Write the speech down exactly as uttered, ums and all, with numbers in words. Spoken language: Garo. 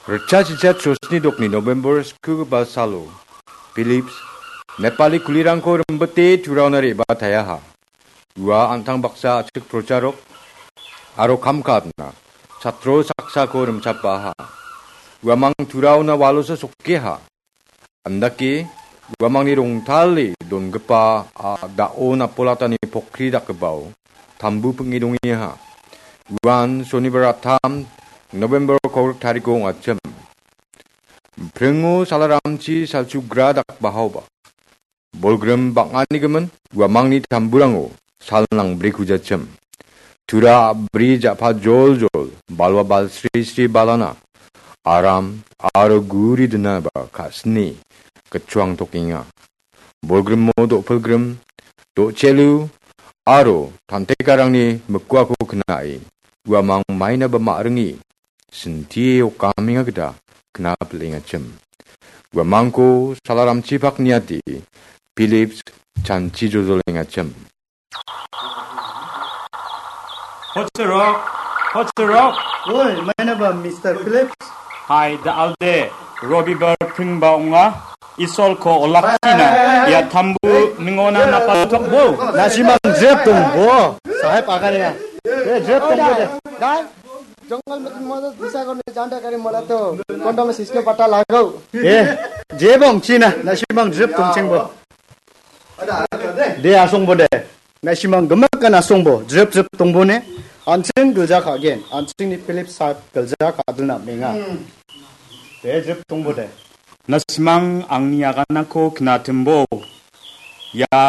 Ritchasicha chosni dokni November skugipa salo, Philips, Nepali kulirangko rimbite turaona re·bataeaha. Ua an·tang baksa achik procharok aro kam ka·atna chatro saksako rimchapaha. Uamang turaona walosa sokkeha. Andake, uamangni rongtale dongipa, a, da·o napolatani pokri dakgipao tambu ping·e dongengaha. Uan sonibar attam November kolgrik tariko ong·achim. Pringo salaramchi salchugra dakbahaoba. Bolgrim bang·anigimin uamangni tamburango sal nangbrikujachim. Tura a·bri ja·pa joljol, balwa balsri sri balana, aram aro guri dinaba ka·sini gitchoang tokenga. Bolgrimo do·pilgrim, do·chelu aro tantekarangni mikuako kna·e uamang mainaba ma·ringe sintie okamenga gita kna pil·engachim. Uamangko salaramchipak niate Philips chanchi jojolengachim. Hochirok, hochirok. Oi, mainaba Mister Philips. Hai, da alde, Robibar pringba ong·a, Isolko olakchina, ia tambu ningona napaltokbo. Na·simang jep dongbo, saheb aganenga. Eh, jep dongbo de. Dai, jongol metin modo disa ko ne janda kari mola to, kondom siske pata lagau. Eh, jep ong·china, na·simang jep dongchengbo. De asongbo de. Na·simang gimikan asongbo, jrip jrip dongbo ne. An·ching gilja ka·gen, an·chingni Philip saheb gilja ka·dilna amenga. De jrip dongbo de. Na·simang angni aganako knatimbo. Ia